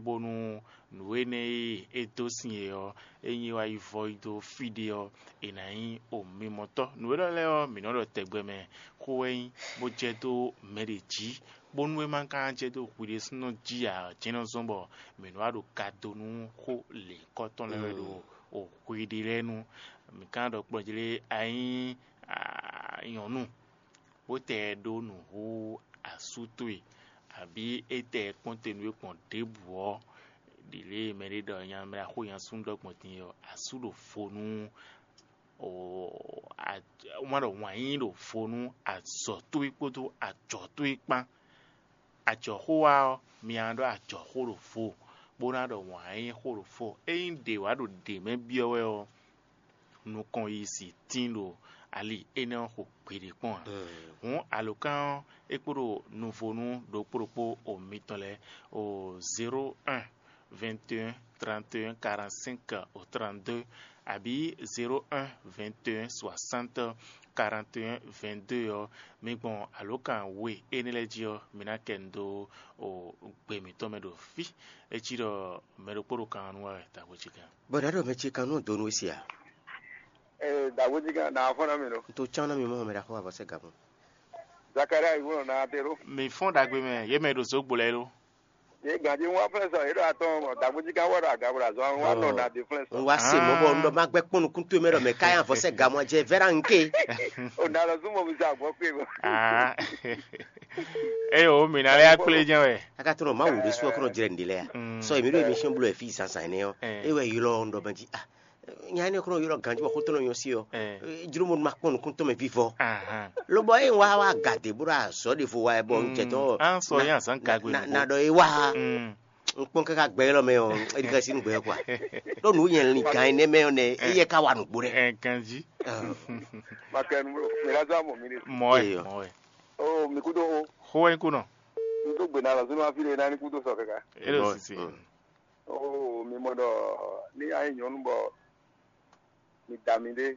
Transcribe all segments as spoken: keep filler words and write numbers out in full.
bónú nǔ énɛ́ e é dó sin e ɔ́, ényí é wá yi vɔ yi dó fí ɖé ɔ́, è nǎ nyí omimɔtɔ́. Nǔ élɔ́ lɛ́ɛ ɔ́, mǐ nɔ ɖɔ tɛgbɛ mɛ xó wɛ nyí, bó jɛ dó mɛ ɖě jí, bónú é ma ka jɛ dó hwi ɖésúnɔ jí ǎ, jɛ́n nɔ zɔ́n bɔ mǐ nɔ wá ɖo ka dó nú xó lěhunkɔtɔn lɛ́ɛ wɛ ɖo hwi ɖé lɛ́ɛ nu. Mǐ ka ɖɔ kplɔ́njlé a nyí nyɔ̌nu, bó tɛ ɖó nǔ hú asú towe, abǐ é tɛ kpɔ́n te nú we gbɔn ɖěbǔ ɔ́, ɖi lě e mɛɖé ɖɔ nya mɛ xó nya súnnu ɖɔ gbɔn din ɔ́, asú ɖo vo nú wá ɖɔ wǎn yíyí ɖo vo nú azɔ̌ towe kpódó ajɔ̌ towe kpán. Ajɔ̌xó wa ɔ́, mi ná ɖɔ ajɔ̌xó ɖo vo, bó ná ɖɔ wǎn yíyí xó ɖo vo. Ényí ɖě wá ɖo ɖě mɛ byɔ́ wɛ ɔ́, nukɔn yi si tín ɖo ali énɛ́ ɔ́ xo gbeɖé kpɔ́n ǎ. Hǔn alǒkan ɔ́, é kpo ɖo nuvonu ɖokpó ɖokpó o mitɔn lɛ́ɛ o zéro un, vingt et un, trente et un, quarante-cinq au trente-deux, abǐ zéro un, vingt et un, soixante, quarante et un, vingt-deux ɔ́, mi gbɔn alǒkan we énɛ́ lɛ́ɛ jí ɔ́, mi ná kɛ nu dó o gbe mǐtɔn mɛ ɖo fí. É cí ɖɔ mɛ ɖokpó ɖo kan ɔ́ nú wɛ wɛ, taxo cí kan. Bɔ ɖa ɖɔ mɛ ce kan nɔ donu esi a? Ee, dagboji kan na fɔn na mi lo. N to can na mi mɔ mɛ ɖaxɔ avɔ sɛ gabɔ. Zakaria yi wolo na te lo. Mi fɔn dagbe mɛ, ye mɛ ɖo zogbo lɛ lo. Ye ganji wa flɛ sɔ, ye ɖo atɔn mɔ dagboji kan wɔ ɖo agabra zɔn wa nɔ na de flɛ sɔ. N wa se mɔ bɔ n dɔ ma gbɛ kpɔn nukun to mɛ dɔ mɛ ka ya avɔ sɛ gamɔ jɛ vɛra n ke. O na lɔ zun mɔ mi sa gbɔ kpe bɔ. Ah. Eye o mi na lɛ akple jɛ wɛ. A ka tɔnɔ ma wǔ ɖé sú ɔkɔnɔ jrɛ n ɖe lɛ ya. Sɔ emi ɖo emi sɛn blo efi zanzan nɛ ɔ. E wɛ ylɔ n dɔ mɛ ji ah. Nya énɛ́ kɔnɔ ylɔ ganjí bɔ xótɔ́ nɔ nyɔ sí ɔ. Jló mo ma kpɔn nukún tɔn mɛ vivɔ. Lobɔ e wa wa gade bó ɖo azɔ ɖe vo wa bɔ n jɛ tɔn. An sɔ yín azán gagbe na ɖo ɖɔ e wa. N kpɔn kaka gbɛ ylɔ mɛ ɔ, e ɖi ka sí nu gbɛ kɔ. Ɖo nu yɛn lin gan énɛ́ mɛ ɔ nɛ e yɛ ka wa nugbo ɖɛ. Ɛ ganjí. Makɛnu bro, mi la zɔ amɔ mi de. Mɔ ɛ, mɔ ɛ. O mi kudo o. Xó wɛ kú nɔ. N tó gbè na lɔ sínú afi ɖe na ní kudo sɔ kaka. E ɖo sisi. Oo, mi mɔ ɖɔ ní a nyí nyɔ̌nu bɔ mi da mi ɖé,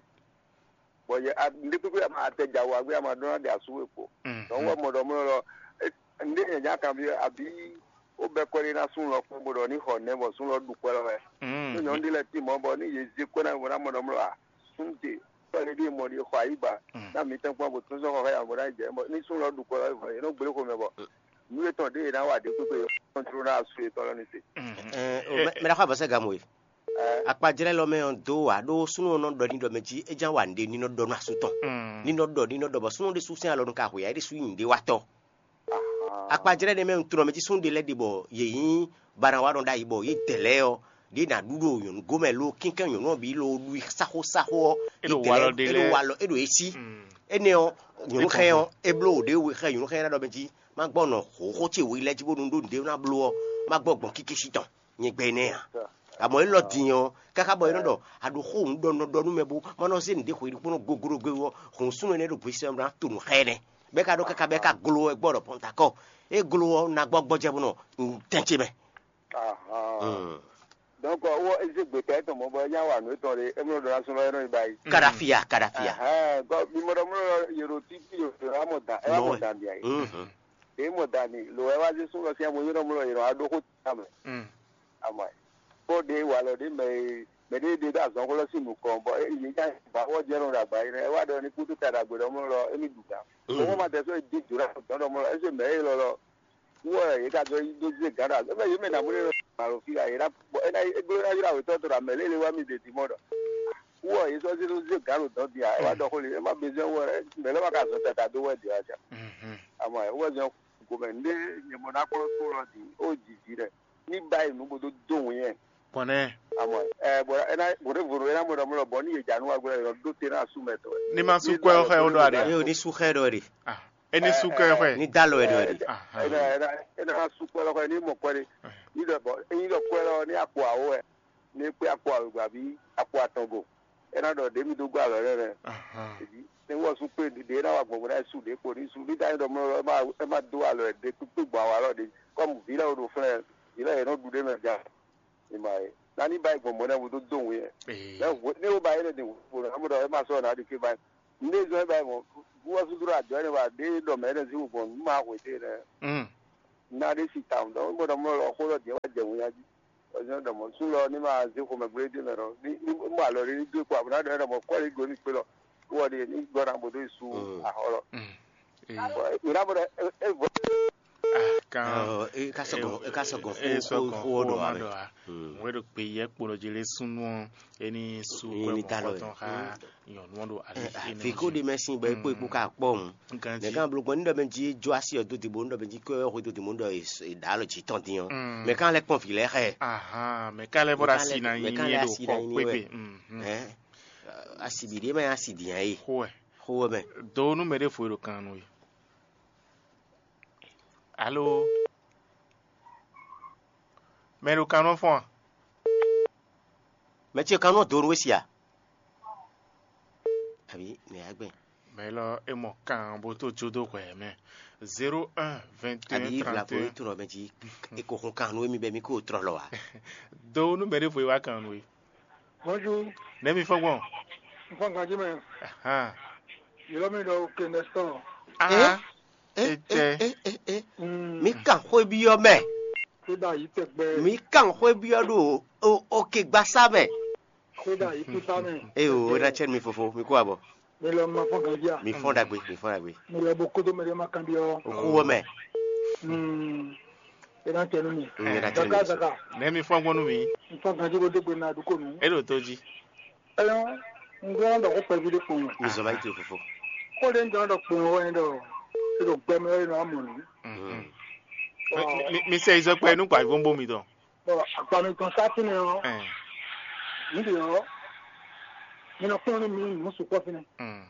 bɔ yɛ a- nɖé kpékpé a ma tɛ dza wɔ agbé a ma ɖó ná ɖe asú we kpo. Donc wɔ mɔ ɖɔ mɔ ɖɔ nɖé nyɛ nya kan bi abi wo bɛ kɔ ɖé ná sún lɔ kpɔn bó ɖɔ ní xɔ nɛ bɔ sún lɔ ɖu kpɛ lɔ wɛ. Ní nyɔ̌nu ɖé lɛ ti mɔ bɔ ní yě zé kɔ ná bɔ ná mɔ ɖɔ mɔ a sún te kɔ ɖé ɖé mɔ ɖé xɔ ayi ba ná mi tɛn kpɔn bó tún sɔn xɔ xɛ yà bɔ ná jɛ bɔ ní sún lɔ ɖu kpɛ lɔ wɛ vɔ yě nɔ gblé xomɛ bɔ nú yětɔn ɖé yě ná wa ɖě kpékpé yě kɔntró ná asú yětɔn lɔ ní se. Mɛ ɖaxɔ abɔsɛ gamu e. Akpajlɛ́ lɔ mɛ ɔ́ dó wǎ ɖó súnnu ɔ́ nɔ ɖɔ ní ɖɔ mɛ jí é ján wa nǔɖé ní nɔ ɖɔ nú asú tɔn. Ní nɔ ɖɔ ní nɔ ɖɔ bɔ súnnu ɖé sú sín alɔ nu ka hwe ǎ é ɖésú nyí nǔɖé wa tɔ́. Akpajlɛ́ ɖé mɛ un tunɔ mɛ jí súnnu ɖé lɛ́ɛ ɖe bɔ yě nyí banawa nɔ ɖ'ayǐ bɔ yě dɛ lɛ́ɛ ɔ́ ɖě ná ɖu ɖo nyɔ̌nu gomɛ ló kínkɛ́n nyɔ̌nu ɔ́ bǐ ló ɖu i sáxósáxó ɔ́. É ɖo walɔ ɖé lɛ́ɛ. É ɖo walɔ é ɖo é sí. Énɛ́ ɔ́ nyɔ̌nu xɛ ɔ́ é bló wǒ ɖé we xɛ nyɔ̌nu xɛ ná ɖɔ mɛ jí má gbɔ nɔ hǒxó ce we lɛ́ɛ jí bónú ɖó nǔɖé ná bló ɔ́ má gbɔ gbɔn kíkísí tɔn. Nyɛ gbɛ nɛ́ ǎ. Amɔ élɔ́ din ɔ́, káká bɔ é nɔ ɖɔ a ɖo xó nǔ ɖɔ nɔ ɖɔ nú mɛ bó ma nɔ zé nǔɖé xwe ɖokpónɔ goglogbe ɔ́, hǔn súnnu énɛ́ ɖo hwisɛ ɔ́ ná to nǔ xá ɛ nɛ́. Bɔ é ka ɖó káká bɔ é ka glo ɛ gbɔ ɖɔ pɔntakɔ. É glo ɔ́ ná gbɔ gbɔjɛ bó nɔ tɛn ce mɛ. Donc wɔ ezé gbeta etɔn mɔ bɔ nya wa nǔ etɔn ɖe emlɔ ɖɔ na sɔn lɔ yɛ nɔ yi ba yi. Kadafia, kadafia. Ɛhɛn, gɔ mi mɔ ɖɔ mlɔ yɛ ɖo titi yɛ ɖo amɔ dan ɛ amɔ dan dia yi. Ɖe mɔ dan ni lo ɛ wa zé sún lɔ sia mo yɛ nɔ mlɔ yɛ nɔ aɖo xó ta mɛ. Amɔ kpɔ ɖe wa lɔ ɖe mɛ mɛ ɖe ɖe ɖo azɔn xó lɔ si nukɔn bɔ yɛ nya ba wɔ jɛ nɔ ɖo agba yi nɛ ɛ wa ɖɔ ni kutu ta ɖagbe ɖɔ mlɔ lɔ emi ɖu ga. Mo ma tɛ so di jura dɔn ɖɔ mlɔ ɛsɛ mɛ e lɔ lɔ. Wɔ yě ka dó dó zé gǎn ɖo azɔ̌ mɛ yě mɛ nǎ mú ɖé nɔ alo fí yě ná bɔ é ná é gbé ná ylɔ́ awětɔn tɔn ɖo amɛ lé lé wá mì ɖe dimɔ ɖɔ wɔ yě sɔ́ zé dó zé gǎn ɖo dɔ̌n din ǎ é wá ɖɔ xó lě é má bezɔ́ wɔ mɛ lɛ́ wá ka zɔn tata dó wɛ ɖě wá jà. Amɔ ɛ wɔ zɔn gomɛ ndé nyɛ mɔ ná kplɔ́ tó lɔ din ó jǐ jí ɖɛ ní báyìí nǔ bó dó dó wǐn ɛ. Kɔnɛ. Amɔ ɛ bɔ é ná bó ɖé vo ɖo é ná mɔ ɖɔ mɔ ɖɔ bɔ ní yě jà nú wa gbé lɔ ɖó te ná asú mɛ tɔn. Ní ma sú kɔ́ ɛ xɔ ɛ wó ɖɔ aɖe. Yóò ní sú xɛ ɖɔ ɖe. Ah. Eni su kɛ xɔe. Ni da lɔ ɛɖɔ ɛɖi. Ena ena ena su kpɔlɔ xɔe ni mɔ kɔni. Ni dɔ bɔ eyin dɔ kpɔlɔ ni akpɔ awo wɛ. Ni kpe akpɔ awo gba bi akpɔ atɔn go. Ena dɔ ɖe mi do gbɔ alɔ yɛ nɛ. Ebi ne wɔ su kpe ɖe na wa gbɔngbɔn na su ɖe kpo ni su ni da yi dɔ mlɔ lɔ ema ema do alɔ ɖe kpekpe gbɔn awa lɔ ɖe. Kɔmu vi lɛ wo ɖo flɛ vi lɛ yɛ nɔ ɖu ɖe mɛ ja. Ima ye na ni ba yi gbɔngbɔn na wo do do ŋu yɛ. Ne wo ba yi ne de wo na mo dɔ ema sɔ na ɖi ke ba yi. Nde zɔn ba mɔ buwɔ sudru adɔ ne wa de dɔ mɛ ne zi wo bɔn nu ma hwe de ne. Na de si tam dɔ mo dɔ mo lɔ xo lɔ de wa jɛ ŋu Ɔzɔn ɖɔ mɔ sú lɔ ní ma zé xomɛ gblé dé mɛ lɔ ní ní mɔ alɔ ɖé ní dó kpɔ abuna ɖɔ ɖɔ mɔ kɔli go ní kpé lɔ wɔ ɖe ní gbɔ na bo dó su ahɔ lɔ. Ira bo ɖɔ e vɔ. Kan Ɔ, e ka sɔgɔ e ka sɔgɔ e xó sɔgɔ xó xó ɖɔ ma ame. Ɖɔ a. Wɛ ɖo gbe yɛ kpo ɖɔ dzi lé súnú ɔ, e ní sú Ní kwɛ ní mɔ da lɔ kɔtɔn xa nyɔnu ɔ ɖo ali. Fi kó ɖe mɛ sin bɔ e kpó e kpó ka kpɔ ŋu. Nkan Mɛ jí. Kan blo gbɔn ní ɖɔ mɛ jí jó asi ɔ dó dìbò ní ɖɔ mɛ jí kó ɛ xó dó dìbò ní ɖɔ è ɖǎ lɔ jí tɔn dín ɔ. Mɛ kan lɛ kpɔn vǐ lɛ xɛ. Ahan, mɛ ka lɛ bɔ ɖo asi na Mɛ nyi kan lɛ ɖo asi xɔ na nyi kpékpé. Wɛ. Ɛ, asi bǐ ɖé mɛ asi dǐn ɛ. Xó ɛ. Xó ɛ mɛ. Do nú mɛ ɖé fo ɖo kan nú we. Alo. Mɛ ɖo kan nɔ fɔn a? Mɛ ce kan nɔ do nú we si a? Àbí nɛ agbɛn. Mɛ lɔ e mɔ kan bó tó jó dó hwɛ mɛ. Zéro un, vingt et un, Àbí vla ko trente et un. Tó nɔ mɛ jí e ko hun kan nú emi bɛ mi ko trɔ lɔ wa. Do nú mɛ ɖé fo e wá kan nú we. Bonjour. Nɛ mi fɔn gbɔn. N fɔ ganji mɛ. Ahan. Yɔrɔ mi ɖɔ ke nɛsɔn. Aha. E Etɛ. E e e. Mi kan xwé byɔ́ mɛ. Kódà yìí tẹgbẹ́. Mi kan xwé byɔ́ ɖo o o ke gbasa mɛ. Kódà yìí pípa mɛ. Eye o, o na tsɛ mi fofo, mi kó abɔ. Mi lɔ ma fɔ ganji a. Mi fɔn dagbe, mi fɔn dagbe. Mi lɔ bo kodo mɛ ɖe ma kan byɔ́. O kú wɔ mɛ. Hmm. E na tsɛ nu mi. N yɛrɛ tsɛ Zaka mi. Zaka. Nɛ mi fɔn gbɔn nú mi. N fɔ ganji bo dégbe na dukonu. E ɖo tó jí. Ɛyɔ, n gbɔ dɔ ko kpɛvi ɖe kpɔn. Mi zɔ va yi to fofo. Ko ɖe n jɔ dɔ kpɔn wɛ dɔ. E ɖo gbɛmɛ wɛ nɔ amɔ nu. Mi mi- mi sɛ izɔkpɛ nú gbajúgbó mi tɔn. Bɔn agba mi tɔn sá fínɛ́ ɔ́, Ɛn. Níbi ɔ́, mi nɔ kplɔ́n nú mi nǔ sukpɔ́ fínɛ́. Mm.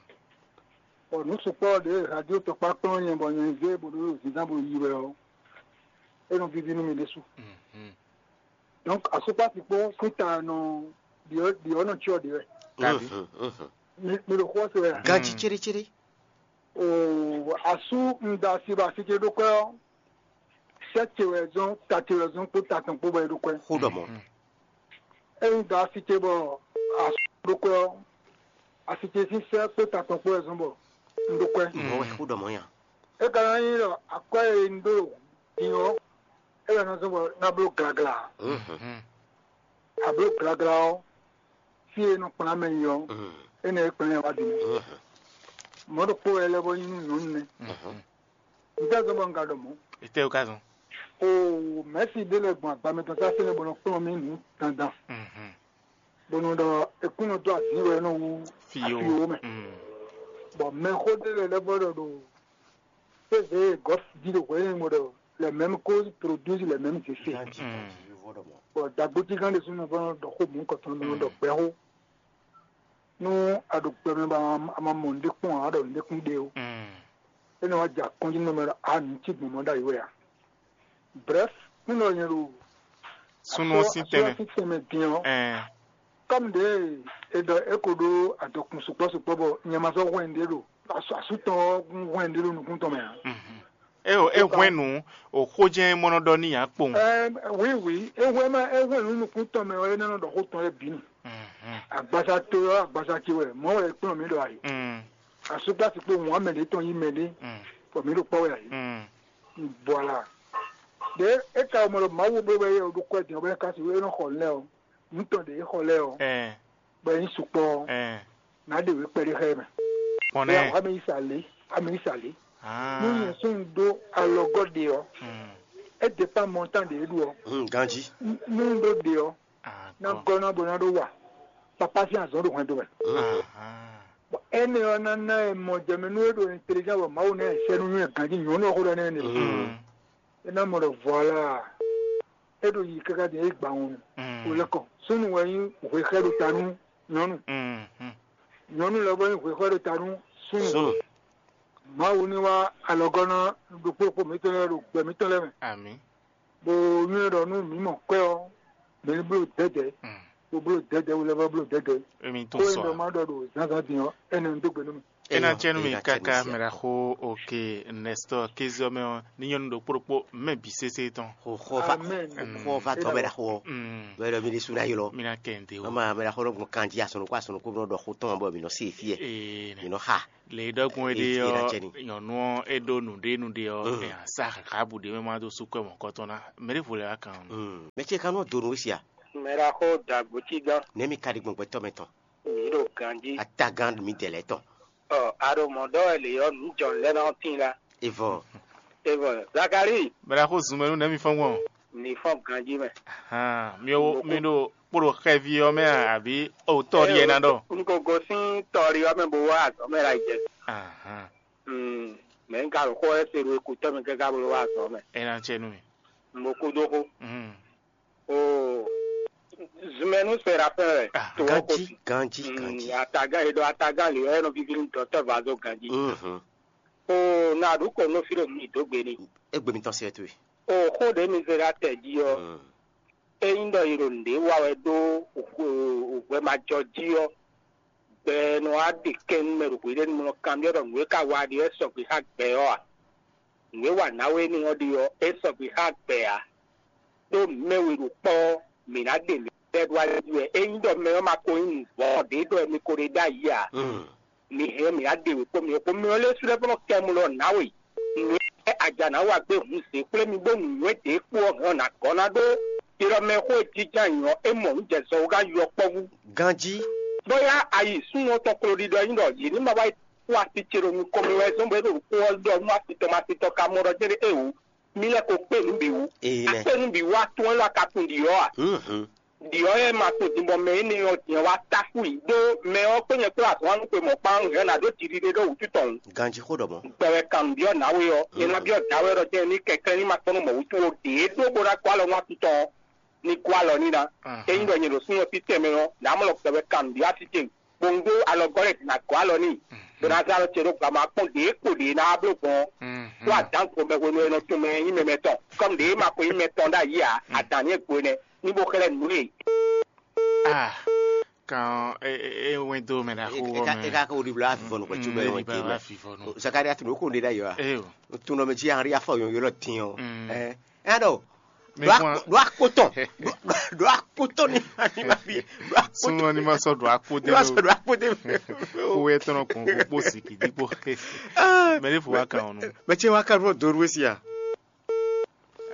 Bɔn nǔ sukpɔ́ ɖě radio tɔkpá kplɔ́n nyɛ bɔ nyɛ zé bó ɖó zǐnzán bó yi wɛ ɔ́, é nɔ víví nú mi ɖésú. Mhm. Donc asukpasi kpó síta nɔ ɖiɔ ɖiɔ nɔ tsyɔ ɖe wɛ. Kabi. Mi mi ɖo xó ɔ́ se wɛ a? Ganji céɖécéɖé. Oo, asú un da asi bɔ asi ce ɖó kwɛ́ ɔ́, sɛ́ ce wɛ zɔ́n, ta ce wɛ zɔ́n kpó ta tɔn kpó bɔ é ɖó kwɛ́. Xó ɖɔ mɔ̌. Ényí un da asi ce bɔ asú ɖó kwɛ́ ɔ́, asi ce sín sɛ́ kpó ta tɔn kpó wɛ zɔ́n bɔ un ɖó kwɛ́. Mɔ̌ wɛ xó ɖɔ mɔ̌ nya. É ka ná nyí ɖɔ akwɛ́ e un ɖó din ɔ́, é wɛ ná zɔ́n bɔ ná bló glagla. Mhm. Abló glagla ɔ́, fí e nɔ kplán mɛ yi ɔ́, énɛ́ e kplán ɛ wá din. Mɔ̌ ɖokpó wɛ lɛ́ bɔ nyí nú nyɔ̌nu nɛ́. Un ka zɔ́n bɔ un ka ɖɔ mɔ̌. Etɛ́ wú ka zɔn? Oo, mɛ̌si ɖé lɛ́ɛ gbɔn agba mɛ tɔn sásé nɛ́ bɔ nɔ kplɔ́n mì nǔ dandan. Bɔ nɔ ɖɔ ekún nɔ dó azǐn wɛ nɔ wú Fíyo. Afíwo mɛ. Bɔ mɛxó ɖé lɛ́ɛ lɛ́ vɔ ɖɔ ɖo Eze gɔ́ jí ɖo hwɛ̌ nyɛ ɖɔ les mêmes causes produisent les mêmes effets. Bɔ dagbotígán ɖésú nɔ vɔ́ ɖɔ xó mɔ̌hunkɔtɔn nɔ ɖɔ gbɛxó. Nú a ɖo gbɛ mɛ bɔ a ma mɔ nǔɖé kpɔ́n ǎ, a ɖɔ nǔɖé kún ɖe ó. É nɔ wá jɛ akɔ́njí nú mɛ ɖɔ a nǔ cí gbɔn mɔ̌ ɖ'ayǐ wɛ a. Brɛ́f, nú nɔ nyɛ ɖo Súnnu ɔ́ sín tɛnmɛ. Sín tɛnmɛ din ɔ́, Ɛɛ. Kɔ́mu ɖě e ɖɔ é ko ɖó adɔkun sukpɔ́ sukpɔ́ bɔ nyɛ ma sɔ́ hwɛn ɖě ɖo asú tɔn ɔ́ hwɛn ɖě ɖo nukún tɔn mɛ ǎ. É o é hwɛ́n nǔ o xó jɛ́n mɔ nɔ ɖɔ n'i ǎ kpowun. Ɛɛ, oui, oui, é hwɛ́n ma é hwɛ́n nǔ nukún tɔn mɛ ɔ́, é ná nɔ ɖɔ xó tɔn lɛ́ɛ bǐ nu. Agbaza to ɔ́, agbaza ce wɛ, mɔ̌ wɛ é kplɔ́n mǐ ɖɔ ayǐ. Asúgbási kpó wǔn amɛ ɖě tɔn yí mɛ ɖé, bɔ mǐ ɖo kpɔ́ wɛ ayǐ. Voilà. Ɖě é ka mɔ ɖɔ Mawu ɖó wɛ é ɖo kwɛ́ din ɔ́, bɔ é ka sixú é nɔ xɔ nǔ lɛ́ɛ ɔ́, nǔ tɔn ɖě é xɔ lɛ́ɛ ɔ́, Ɛɛ. Bɔ é nyí sukpɔ́ ɔ́, Ɛɛ. Nǎ ɖe wě kpɛɖé xá ɛ mɛ. Kpɔn Bóyá nɛ́. Wǎ mɛ yí sa lě, wǎ mɛ yí sa lě. Nú nyɛ sún un ɖó alɔgɔ́ ɖe ɔ́, é dépend montant ɖě é ɖu ɔ́. Ganjí. Nú un ɖó ɖe ɔ́, ná gɔ́ ná bó ná ɖó wa. Papá sín azɔ̌ ɖo hwɛndo mɛ. Bɔ énɛ́ ɔ́ ná ná ɛ mɔ jɛmɛ nú é ɖo intelligent bɔ Mawu ná ɛ sɛ́ nú nywɛ ganjí nyɔ̌nu ɔ́ xó ɖɔ nɛ́ nɛ. É ná mɔ ɖɔ voilà, é ɖo yi káká din é gba wɔn. Wò lɛ́ kɔ súnnu wɛ nyí hwexɛ́ ɖo ta nú nyɔ̌nu. Nyɔ̌nu lɛ́ɛ bɔ nyí hwexɛ́ ɖo ta nú súnnu. Súnnu. Mawu ní wá alɔgɔ́ ná ɖokpó ɖokpó mǐtɔn lɛ́ɛ ɖo gbɛ mǐtɔn lɛ́ɛ mɛ. Amǐ. Bó nywɛ́ ɖɔ nú mǐ mɔ kwɛ́ ɔ́, mǐ ní bló dɛ̌dɛ̌, bó bló dɛ̌dɛ̌, wulɛ́ vɔ bló dɛ̌dɛ̌. Emi tó Xó e sɔ. Ɖɔ má ɖɔ ɖo zǎnzǎn din ɔ́, énɛ́ un dó gbe nú mì. É ná cɛ nú mi káká mɛ ɖaxó. Oke, Nestor kézɔ mɛ ɔ́, ní nyɔ́nu ɖokpó ɖokpó mɛ bǐ sésé tɔn. Xo xo va Amen. Xo va dɔ mɛ ɖaxó ɔ́. Mm. Bɛ ɖɔ mi ɖésú ná ylɔ. Mi ná kɛ nte o. Mama mɛ ɖaxó ɖo gbɔn kanjí asɔnukú asɔnukú nɔ ɖɔ xó tɔn bɔ mi nɔ se fie. Ee, mi nɔ xa. Le ɖɔkun é ɖe Ee, ɔ́, ná cɛ ni. Nyɔnu ɔ́ é ɖó nǔɖé nǔɖé ɔ́, Mm. é ná sa xaxabu ɖé mɛ ma dó sú kɔ́ mɔ̌kɔtɔn ná. Mɛ ɖěvo lɛ́ wá kan. Mm. Mɛ ce ka nɔ do nǔ sia. Mɛ ɖaxó dàgbò cí gán. Nɛ̌ mi ka ɖi gbɔn gbɛtɔ́ mɛ tɔn? Mi ɖo ganjí. Atagán mi dɛ lɛ́ tɔn. Ɔ, a ɖo mɔ̌ ɖɔ wɛ lě ɔ́, nǔ jɔn lɛ́ɛ ná tín la. Evɔ. Evɔ, Zakali, Bɛlɛxó zunmɛ nú nɛ̌ mi fɔ́n gbɔn? Mi fɔ́n ganjí mɛ. Hàn, mi ò mi ɖo kpóɖo xɛví ɔ́ mɛ a, àbí o tɔ́ ɖi ɛ ná ɖɔ? Un ko gosín tɔ́ ɖi ɔ́ mɛ bó wá azɔ̌ mɛ la jɛ. Ahan. Mm, mɛ un ka ɖo xó ɛ se ɖo ekutɔ́ mi káká bó wá azɔ̌ mɛ. É ná cɛ nú mi. Un bo kú dó xó. Mm. O zunmɛ nú Serafin wɛ. Ah, To ɔ́ ko Ganji, si. Ganji, Mm, Ganji. Atagán e ɖɔ atagán lě ɔ́, é nɔ víví nú dɔ̌tɔ́ Vazo ganjí. Mhm. O na ɖu kɔ nɔ fí ɖo mi dó gbe ni. Egbe mitɔn se wɛ towe. O xó ɖě mi zé ɖa tɛ jí ɔ́, Mm. é nyí ɖɔ yi ɖo nǔɖé wa wɛ ɖó hwɛmajɔ jí ɔ́, gbɛ nɔ wá ɖe kɛn nú mɛ ɖo hweɖénu nɔ kanbyɔ́ ɖɔ nǔ e ka wa ɖe wɛ sɔgbe xá gbɛ ɔ́ a? Nǔ e wa nǎwe énɛ́ ɔ́ ɖe ɔ́, é sɔgbe xá gbɛ ǎ. Ɖó mɛ we ɖo kpɔ́ ɔ́, mǐ ná ɖe mǐ lɛ́ɛ ɖó ali jí wɛ. Ényí ɖɔ mɛ ɔ́ ma ko nyí nǔvɔ́ ɖě ɖɔ mi ko ɖe ɖ'ayǐ ǎ, Mm. mi hɛn ɔ́, mǐ ná ɖe wě kpó mi ɔ́ kpó. Mɛ ɔ́ lɛ́ sú lɛ́ vɔ́ nɔ kɛ mu lɔ nǎwe. Nǔ e Aja ná wa gbé hun zě kplé mi bó nǔnywɛ́ ɖě kpo ɔ́ hɛn ɔ́ nǎ gɔ́ ná ɖó. Ɖiɖɔ mɛ xó e jínjɔ́n ayǐ ɔ́, é mɔ nǔ jɛ zɔn wú gán yɔkpɔ́vú. Ganjí. Bóyá ayi súnnu ɔ́ tɔn klo ɖiɖɔ nyí ɖɔ yě ní ma wá yi kú asi ce ɖo nukɔn mɛ wɛ zɔ́n bɔ é ɖo nǔkó ɔ́ ɖɔ nú asi tɔn mɛ asi tɔn ka mɔ ɖɔ jɛ́n ɖé éwú. Mí lɛ́ ko kpé nǔ bǐ wú. Éyi nɛ́. Akpé nǔ bǐ wú atún élɔ́ a ka tunwun ɖiɔ́ a? Mhm. Ɖiɔ́ e ma tunwun din bɔ mɛ énɛ́ ɔ́ din ɔ́ wá tá fú yǐ ɖó mɛ ɔ́ kpé nyɛ kplɔ́ azɔ̌ wá nú xwe mɔ̌kpán hɛn ɔ́ ná ɖó jiɖiɖe ɖó wǔtu tɔn wú. Ganjí xó ɖɔ mɔ̌. Gbɛ wɛ kan nǔ byɔ́ nǎwe ɔ́, nyɛ ná byɔ́ dǎwe ɔ́ ɖɔ jɛ́n ní kɛnklɛ́n ní ma kpɔ́n nú mɔ̌ wútu ó ɖě ɖó bó ná kó alɔ nú atún tɔn ɔ́, ní gɔ́ alɔ n'i ná. Ahan. Ényí ɖɔ nyɛ ɖo súnnu ɔ́ títɛn mɛ ɔ́, nǎ mlɔ gbɛ wɛ kan nǔ byɔ́ atún ce. Bó un ɖó alɔgɔ́ lɛ́ɛ din agɔ̌ alɔ n'i. Bó ná zán alɔ ce ɖó gbama kpɔ́n ɖě kpo ɖě ná wá bló gbɔn ɔ́. Tó adǎn ko mɛ hwenu e nɔ tunwun mɛ e nyí mɛ mɛtɔn. Kɔ́m ɖě ma ko nyí mɛtɔn ɖ'ayǐ ǎ, adǎn ní e gbo énɛ́, ní bó xlɛ́ nǔ e. Ah, kan e e e wɛn dó mɛ ɖaxó E wɔ ka e mɛ. Ka ko ɖibla afifɔ nɔ kɔcu bɛ Ee, wɛn ba ke wa mɛ. Fifɔ nɔ. Zakariya tun ko ɖe ɖ'ayǐ wa. Ee o. Tun nɔ mɛ jí anri afɔ yɔn yɔlɔ tin ɔ. Mm. Ɛ ɛ ɖɔ. Mi ɖo kpɔn. Akpo ɖo akpo tɔn. Ɖo akpo tɔn ni ma fi. Ɖo akpo tɔn. Súnmọ́ ní ma sɔ ɖo akpo dé Ní ma sɔ ɖo akpo dé. Kó wɛ tɔnɔ kpɔn kó kpó siki dípò. Mɛ ní fò wá kan ɔnu. Mɛ tí wá kan fún dòrú sí a.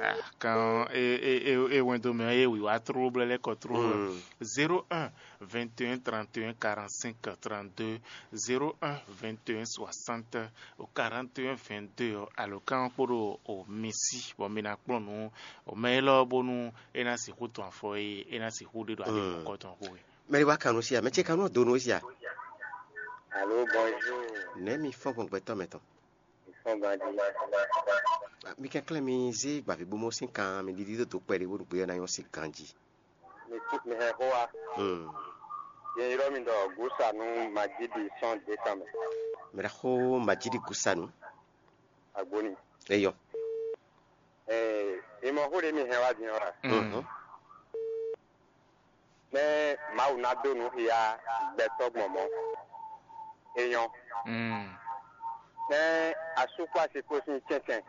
Ah, kan e e e e wɛn do mɛ e wi wá tró blɛ lɛ kɔ tró. Mm. Zéro un vingt et un trente et un quarante-cinq trente-deux, zéro un vingt et un soixante quarante et un vingt-deux alo kan kpó ɖo o mi sí bɔ mi ná kplɔ́n nǔ o mɛ élɔ́ bónú é ná sixú tɔn afɔ e é ná sixú ɖe ɖo ali mɔ̌kɔ tɔn xó e. Mɛ ɖé wá kan nú sí a, mɛ ce kan nú do nú sí a. Alo bonjour. Nɛ̌ mi fɔ́n gbɔn gbɛtɔ́ mɛ tɔn? Fɔ́n ganjí. Mi kɛnklɛ́n mi zé gbavǐbomɔ sín kan mi ɖiɖi dó dǒ kpɛɖé bónú gbé ɔ́ ná nyɔ́ sín ganjí. Mi kú mi hɛn xó wa. Hmm. Yɛ ylɔ́ mi ɖɔ Gúsanu Majídi sɔ́n dě tɔn mɛ. Mɛ ɖaxó Majídi Gúsanu. Agbóni. Eyɔ. Ee, mi mɔ xó ɖé mi hɛn wá din ɔ́ a? Mhm. Nɛ́ Mawu ná dó nǔ xia gbɛtɔ́ gbɔn mɔ̌. É nyɔ́. Mm. Nɛ́ asú kpó asi kpó sín cɛ́ncɛn.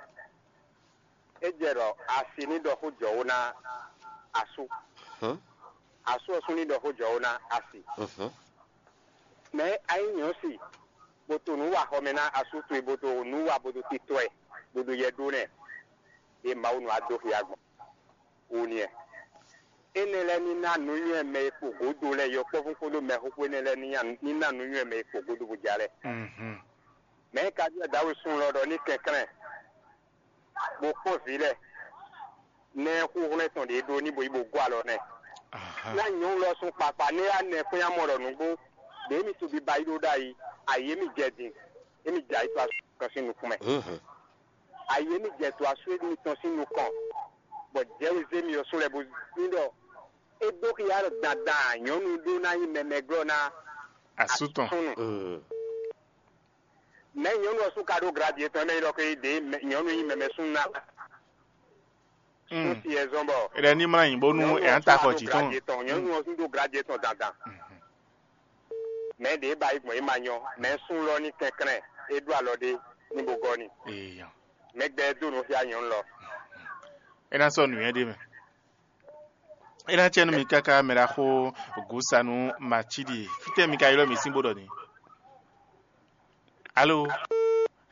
É jɛ ɖɔ asi ní ɖɔ xó jɔwó ná asú. Hɔn. Asú ɔ́ sú ní ɖɔ xó jɔwó ná asi. Mhm. Mɛ a nyí nyɔ̌si, bó to nǔ wa xɔ mɛ ná asú towe, bó to nǔ wa bó to titɔ ɛ, bó ɖo yɛ ɖó nɛ, ɖe Mawu nɔ adó xia gbɔn. Wo nìyẹn. Énɛ́ lɛ́ɛ ní ná nǔnywɛ́ mɛ e kpo gǒdo lɛ́ɛ, yɔkpɔ́vú kpódó mɛxóxó énɛ́ lɛ́ɛ ní nya ní ná nǔnywɛ́ mɛ e kpo gǒdo bó ja lɛ́ɛ. Mhm. Mɛ̌ ka byɔ́ Dawusu lɔ ɖɔ ní kɛnklɛ́n, bó kpɔ́n vǐ lɛ́ɛ, nɛ́ xúxlɛ́ tɔn ɖě ɖó ní bo yi bo gɔ́ alɔ nɛ́. Aha. Ná nyɔ̌nu lɔ sún kpakpa nɛ́ yá nɛ kpɛ́n amɔ ɖɔ nǔgbó, ɖě mi to biba yi ɖó ɖ'ayǐ, ayǐ e mi jɛ din, é mi jɛ ayǐ to asú tɔn sín nukún mɛ. Mhm. Ayǐ e mi jɛ to asú mitɔn sín nukɔn, bɔ jɛ̌wizé mi ɔ́ sú lɛ́ bó ní ɖɔ é dó xia ɖɔ dandan nyɔ̌nu ɖó ná nyí mɛmɛglɔ́ ná Asú tɔn. Asúnnu. Mm. Mɛ nyɔ̌nu ɔ́ sú ka ɖó gradi yětɔn mɛ nyí ɖɔ ké ɖě mɛ- nyɔ̌nu nyí mɛmɛ súnnu ná. Mm. Súnnu si ɛ zɔn bɔ. Eɖe ní mlá yìnbó nú nyɔ̌nu ɔ́ ẹ̀ ń sú ta wá xɔ ɖó jǐ gradi tɔn. Yětɔn, nyɔ̌nu ɔ́ sú ɖó gradi yětɔn dandan. Mhm. Mɛ ɖě ba yi gbɔn é ma nyɔ, mɛ sún lɔ ní kɛnklɛ́n, é ɖó alɔ ɖé ní bo gɔ́ n'i. Eeyan. Mɛ gbɛ dó nǔ xyá nyɔ̌nu lɔ. É ná sɔ́ nǔnywɛ́ ɖé mɛ. É ná cɛ nú mi káká mɛ ɖaxó Gusanu Macíɖi. Fítɛ́ mi ka ylɔ́ mì sín bó ɖɔ n'i? Alo?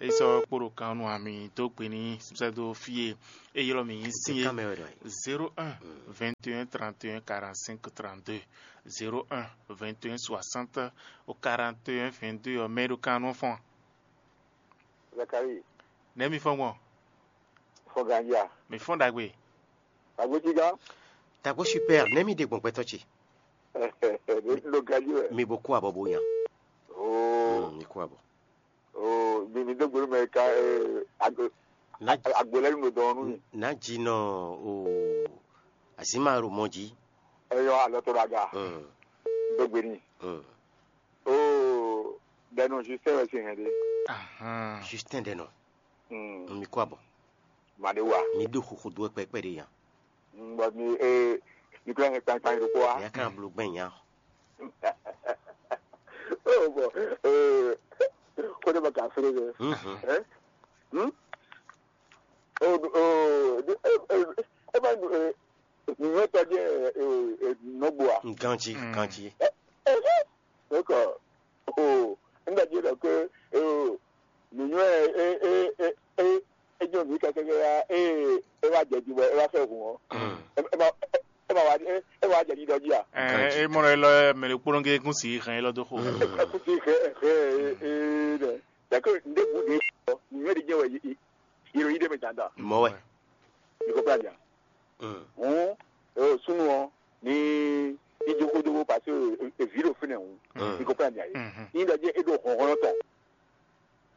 É sɔ́ kpo ɖo kan nú ami dó gbe ní sɛ́ dó fí e é ylɔ́ mì nyí sín é. Kan mɛ wɛ ɖɔ é. Zéro un, vingt et un, trente et un, quarante-cinq, trente-deux. Zéro un, vingt et un, soixante, quarante et un, vingt-deux ɔ́, mɛ e ɖo kan nú ɔ́ fɔ́n a? Zakari, Nɛ̌ mi fɔ́n gbɔn? Fɔ́n ganjí a? Mi fɔ́n ɖagbe. Agbo cí gán? Tako super, nɛ̌ mi ɖe gbɔn gbɛtɔ́ ce? Ɖo ganjí wɛ. Mi bo kú abɔ bo nya. Oo. Mm, mi kú abɔ. Oo, mi mi dó gboló mɛ ka eh, agbo. Na agbo lɛ́ nu dɔn nú mi. Na dzi nɔ o azima ɖo mɔ jí. Eyɔ alɔ to ɖo aga. Mm, Dó gbe n'i. Mm. Oo, ɖɛnu Justin wɛ sin hɛn ɖe. Ahán. Justin ɖe nɔ. Mm. Mi kú abɔ. Ma ɖe wa. Mi ɖo xoxo dó wɛ kpɛkpɛ ɖe yan. Mm, bɔ mi eh, mi kura hɛn kpankpan ɖokpó wa. Ya kan blo gbɛn yan. Oh, bɔ eh, ko ne ma ka fere ne. Mhm. Eh? Hmm? Oh, oh, eh, eh, eh, eh, eh, eh, nɔgbó a? Ganji, Mm. Ganji. Eh, eh, eh. Donc, oh, nígbà tí ó dọ̀ pé, oh, nìyẹn ẹ ẹ ẹ ẹ ẹ jọ mí kẹkẹkẹ ya ẹ ẹ wá jẹ jubọ ẹ wá fẹ́ hùn ọ́. Mm. Ẹ ẹ ma ẹ ma wá ẹ ẹ ma wá jẹ dídọ jí à. Ɛ, Ganji. E mɔ ɖɔ elɔ mɛ ɖe kpónɔ gé kún si hɛn elɔ dó xo. Mm. Ẹ kú sí ẹ ẹ ẹ ẹ dẹ. Dàkẹ́ ndé bu de ɔ nìyẹn de jẹ́ wẹ̀ yìí yìí de mẹ jàǹdà. Mɔ wɛ. Ìkọ̀kọ̀ àjà. Mm. Hɔn ɛ o súnú ɔ ní ìjókòó dó parce que èvì ló fínẹ̀ hùn. Mm. Ìkọ̀kọ̀ àjà yìí. Mhm. Ní ìdájẹ́ é ɖo hɔnhɔnɔ tɔn.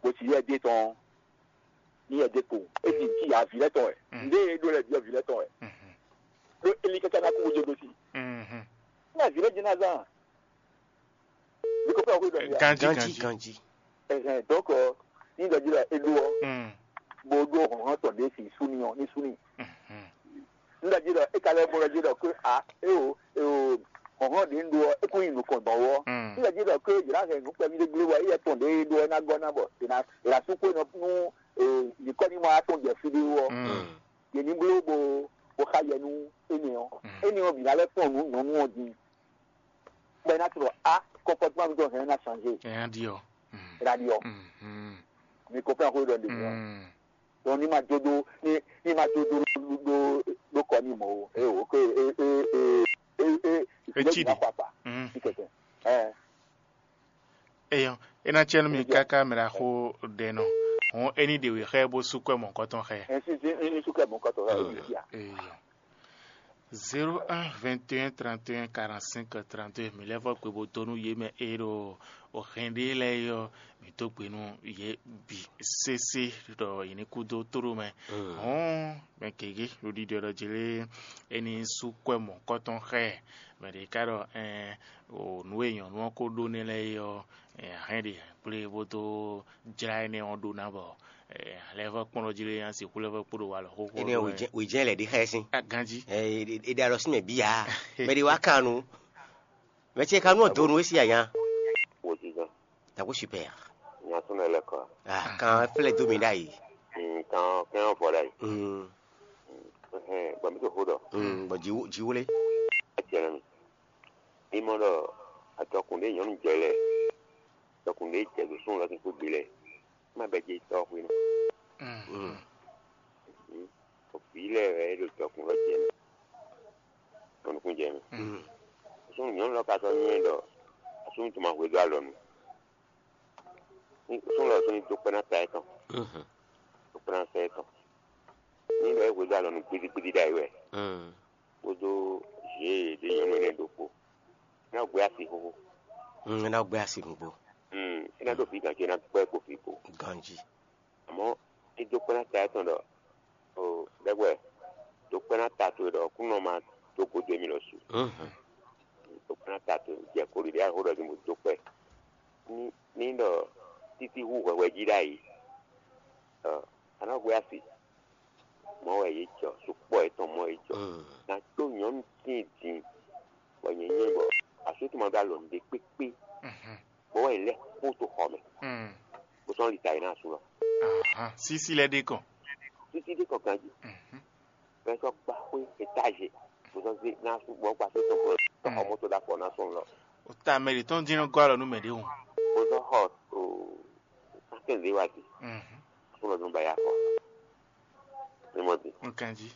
Bó ti yɛ dé tɔn ní yɛ dé kpo é ti ti yà vǐ lɛ tɔn wɛ. Mm. Ndé é ɖó lɛ byɔ́ vǐ lɛ tɔn wɛ. Mhm. Ɖó Eli kɛkɛ ná kú wodze ɖó sí. Mhm. Ní yà vǐ lɛ jẹ́ ná zán. Ìkọ̀kọ̀ àkójọ ni yà. Ganji, Ganji, ganji. Ganji. Ɛhɛn, donc ɔ, ní ìdájọ́ la é ɖó ɔ. Mm. Bó ɖó hɔnhɔn tɔn ɖé si súnì ɔ ní súnì. Mhm. Nígbà jí lɔ é ka lɛ́ bó lɔ jí lɔ pé a é o é o hɔnhɔn ɖě ń ɖó ɔ é kún nyi nukɔn dɔn wɔ. Mm. Nígbà jí lɔ pé yě ná hɛn nǔkpɛví ɖé gblé wɔ éyɛ́ tɔn ɖě ɖó ɔ́ ná gɔ́ ná bɔ è nǎ è nǎ sú xwé nɔ nú nyǐkɔ ní ma wá tɔn jɛ fí ɖé wú ɔ́. Mm. Yě ní bló bó bó xa yɛ nú énɛ́ ɔ́. Mm. Énɛ́ ɔ́ bǐ ná lɛ́ kplɔ́n nǔ nyɔ̌nu ɔ́ din. Bɔ é ná tlɔ a comportement mitɔn hɛn ná changé. Nya ɖi ɔ. Mm. É ná ɖi ɔ. Mhm. Mi ko fɛn xó ɖɔ ɖe mi ɔ. Mm. Donc ní ma jó dó ní ní ma jó dó dó dó kɔ ní mɔ o. É o ké é é é é é Etsi ɖi. Kpakpa. Mm. Ní kɛkɛ. Ɛ Eyɔ, é ná cɛ nú mi káká mɛ ɖaxó ɖɛ nɔ. Hɔn é ní ɖe wě xá ɛ bó sú kwɛ mɔ̌kɔtɔn xá ɛ. Ɛ sí sí ní ní súkɛ mɔ̌kɔtɔn xá ɛ. Eyɔ. Zéro un vingt et un trente et un quarante-cinq trente-deux, mi lɛ́ vɔ kpe bó dó nú yě mɛ e ɖo o hɛn ɖé lɛ́ɛ é ɔ́, mi dó gbe nú yě bǐ sésé ɖɔ yě ní kú dó tóɖó mɛ. Hɔn mɛ gěgé ɖo ɖiɖɔ ɖɔ jlé é ní sú kwɛ mɔ̌kɔtɔn xá ɛ. Mɛ ɖě ká ɖɔ ɛn o nǔ e nyɔ̌nu ɔ́ ko ɖó nɛ́ lɛ́ɛ é ɔ́, ɛ hɛn ɖe kplé bó dó jlá énɛ́ ɔ́ ɖó ná bɔ ɛ lɛ́ vɔ kpɔ́n ɖɔ jí lé nya sixú lɛ́ vɔ kpó ɖo walɔ xóxó. Énɛ́ wějɛ́n lɛ̌ ɖi xá ɛ sín. Ganjí. Ɛ e ɖe alɔ sín mɛ bíyà. Mɛ ɖé wá kan nu. Mɛ ce kan nu ɔ donu é sí aya. Wòjijɔ. Tako super. Nya tún lɛ lɛ kɔ. Ah, kan flɛ dó mi ɖ'ayǐ. Mm, kan kɛn vɔ ɖ'ayǐ. Mm. Ɛhɛn, bɔ mi to xó ɖɔ. Mm, bɔ jiwo jiwo lé. Etiɛnɛ mi. Imɔ ɖɔ atɔkùn ɖé nyɔnu jɛ lɛ. Atɔkùn ɖé jɛ ɖo sún lɔ kɛkó gbe lɛ. Má bɛ jɛ tɔ xwe nɔ. Mm. Mm. Vǐ lɛ wɛ é ɖo tɔkùn lɔ jɛ mɛ. Tɔnukun jɛ mɛ. Mm. Sún nyɔnu lɔ ka sɔ nyɛ ɖɔ asúnú tó ma hwedó alɔ nu. Sún lɔ sún ní dó kpɛ́ ná ta ɛ tɔn. Mhm. Dó kpɛ́ ná ta ɛ tɔn. Ní lɔ é hwedó alɔ nu gbidigbidi ɖ'ayǐ wɛ. Mm. Kpódó zě ɖě nyɔnu énɛ́ ɖokpó. Ná gbé asi xóxó. Mm, ná gbé asi nǔgbó. Mm, é ná dó vǐ gǎn ce ná gbɛ́ kpo vǐ kpo. Ganjí. Àmọ́ é dó kpɛ́ ná ta ɛ tɔn ɖɔ o ɖɛkpɛ dó kpɛ́ ná ta towe ɖɔ kúnɔ ma dó gode mì lɔ su. Mhm. Dó kpɛ́ ná ta towe jɛ koli ɖe axó ɖɔ mi mo dó kpɛ́. Ní ní ɖɔ títí hú hwɛhwɛ jí ɖ'ayǐ. Ɔ, a nǎ hwe asi. Mɔ̌ wɛ yě jɔ, sukpɔ́ yětɔn mɔ̌ yě jɔ. Mm. Ná tó nyɔ̌nu tíin din, bɔ nyɛ nyɛ bɔ asú tɔn ma ɖó alɔ ɖě kpékpé. Mhm. Sísí lɛ́ɛ ɖe kɔn. Títí ɖé kɔ ganjí. Bɛn sɔ gba xwé étage, bó sɔ zé ná sú bɔ gba sɔ tɔn kɔ tɔn xɔ mɔtò ɖa fɔ ná sɔn lɔ. O ta mɛ ɖě tɔn dín nɔ gɔ́ alɔ nú mɛ ɖě o. Bó sɔ xɔ o santɛn ɖé wá di. Sún lɔ dún ba ya kɔ. Ní mɔ di. Nkan jí.